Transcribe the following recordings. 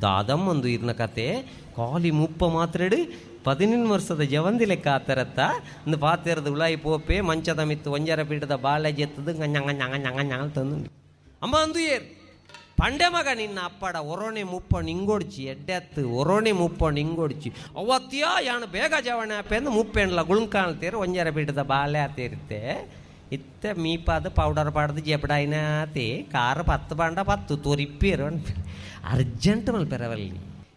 ದಾದಮ್ಮಂದು ಇರ್ನ ಕತೆ ಕಾಲಿ ಮುಪ್ಪ ಮಾತ್ರೆಡು 18 ವರ್ಷದ ಜವಂದಿ ಲೆಕ್ಕ ಆತರತ್ತ ಇಂದು ಪಾತೆರದ ಉಳಾಯಿ ಪೋಪೆ ಮಂಚದ ಮಿತ್ತು ಒಂಜರ ಪೀಠದ ಬಾಳೆ ಜೆತ್ತದು ನಂಗ ನಂಗ ನಂಗ ನಂಗ ತಂದು ಅಮ್ಮ ಅಂದು ಏರ್ ಪಂಡೆ ಮಗ ನಿನ್ನ ಅಪ್ಪಡ ಒರೋಣೆ ಮುಪ್ಪ ನಿಂಗೊಡ್ಚಿ ಎಡ್ಡೆತ್ತು ಒರೋಣೆ ಮುಪ್ಪ ನಿಂಗೊಡ್ಚಿ ಅವತ್ತಿಯಾ ಯಾನು ಬೇಗ ಜವಣೆ ಅಪ್ಪೆಂದು ಮುಪ್ಪೆಂಡ್ಲ ಗುಳುಂಕಾಣ್ತೀರ ಒಂಜರ ಪೀಠದ ಬಾಳೆ ಆತಿರುತ್ತೆ ಇತ್ತೆ ಮೀಪಾದ ಪೌಡರ್ ಪಾಡ್ದು ಜೆಪಡಾಯಿನಾತಿ ಕಾರು 10 ಬಾಂಡ 10 ತೊರಿಪ್ಪೇರು ಅರ್ಜೆಂಟ್ ಮಲ್ಪೆರವಲ್ಲಿ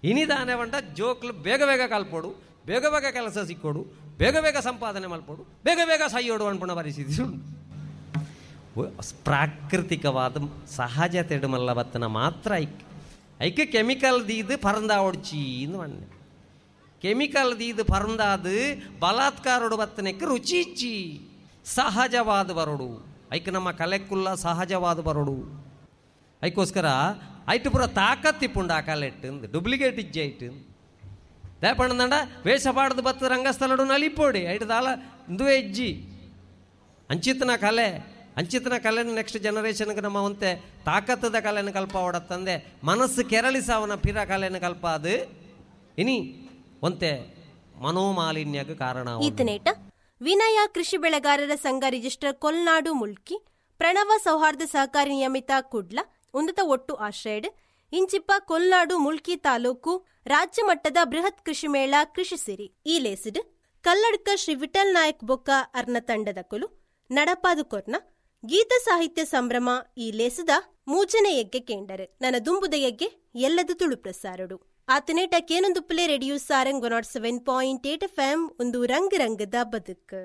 ಇನಿದಾನೆ ಬಂಡ ಜೋಕ್ಲು ಬೇಗ ಬೇಗ ಕಲ್ಪೋಡು, ಬೇಗ ಬೇಗ ಕೆಲಸ ಸಿಕ್ಕೋಡು, ಬೇಗ ಬೇಗ ಸಂಪಾದನೆ ಮಲ್ಪೋಡು, ಬೇಗ ಬೇಗ ಸೈಯೋಡು ಅನ್ಪುಣ ಪರಿಸ್ಥಿತಿ ಉಂಟು. ಪ್ರಾಕೃತಿಕವಾದ ಸಹಜ ತೆಡುಮಲ್ಲ ಬತ್ತನ ಮಾತ್ರ ಐಕ್ ಐಕ್ ಕೆಮಿಕಲ್ ದೀದು ಪರಂದ ಒಡ್ಚಿ ಮಣ್ಣೆ ಕೆಮಿಕಲ್ ದೀದು ಪರಂದಾದು ಬಲಾತ್ಕಾರೋಡು ಬತ್ತನಕ್ಕೆ ರುಚಿ ಇಚ್ಚಿ ಸಹಜವಾದ ಬರೋಡು ಐಕ್ ನಮ್ಮ ಕಲೆಕ್ಕುಲ್ಲ ಸಹಜವಾದ ಬರೋಡು. ಐಕ್ಕೋಸ್ಕರ ಐಟು ಪೂರ ತಾಕತ್ತಿಪ್ಪುಂಡು ಆ ಕಲೆಟ್ಟು ಡೂಪ್ಲಿಕೇಟ್ ಇಜ್ಜೆ ಐಟು ದೇಪಣ್ಣಂಡ ವೇಷ ಪಾಡ್ದು ಬತ್ತ ರಂಗಸ್ಥಳಡು ನಲಿಪೋಡಿ ಐಟು ದಾಲ ಇಂದುವೇ ಇಜ್ಜಿ ಅಂಚಿತನ ಕಲೆ ಅಂಚಿತನ ಕಲೆನ ನೆಕ್ಸ್ಟ್ ಜನರೇಷನ್ಗೆ ನಮ್ಮ ಒಂತೆ ತಾಕತ್ತದ ಕಲೆನ ಕಲ್ಪ ಓಡತ್ತಂದೆ ಮನಸ್ಸು ಕೆರಳಿಸವನ ಪಿರ ಕಲೆನ ಕಲ್ಪ ಅದು ಇನಿ ಒಂತೆ ಮನೋಮಾಲಿನ್ಯಕ್ಕೆ ಕಾರಣ. ಈತನೇಟ ವಿನಯ ಕೃಷಿ ಬೆಳೆಗಾರರ ಸಂಘ ರಿಜಿಸ್ಟರ್ ಕೊಲ್ನಾಡು ಮುಲ್ಕಿ ಪ್ರಣವ ಸೌಹಾರ್ದ ಸಹಕಾರಿ ನಿಯಮಿತ ಕುಡ್ಲ ಉನ್ನತ ಒಟ್ಟು ಆಶ್ರಯಡ್ ಇಂಚಿಪ್ಪ ಕೊಲ್ನಾಡು ಮುಲ್ಕಿ ತಾಲೂಕು ರಾಜ್ಯ ಮಟ್ಟದ ಬೃಹತ್ ಕೃಷಿ ಮೇಳ ಕೃಷಿ ಸಿರಿ ಈ ಲೇಸಿಡ್ ಕಲ್ಲಡ್ಕ ಶ್ರೀ ವಿಠಲ್ ನಾಯಕ್ ಬೊಕ್ಕ ಅರ್ನ ತಂಡದ ಕುಲು ನಡಪಾದು ಕೊರ್ನ ಗೀತ ಸಾಹಿತ್ಯ ಸಂಭ್ರಮ ಈ ಲೇಸದ ಮೂಜನೆ ಯಗ್ಗೆ ಕೇಂಡರು ನನ್ನ ದುಂಬುದ ಯಗ್ಗೆ ಎಲ್ಲದ ತುಳು ಪ್ರಸಾರಡು ಆತನೇಟ ಕೇನೊಂದುಪ್ಪಲೆ ರೇಡಿಯೋ ಸಾರಂಗ್ 107.8 FM ಒಂದು ರಂಗ ರಂಗದ ಬದುಕು.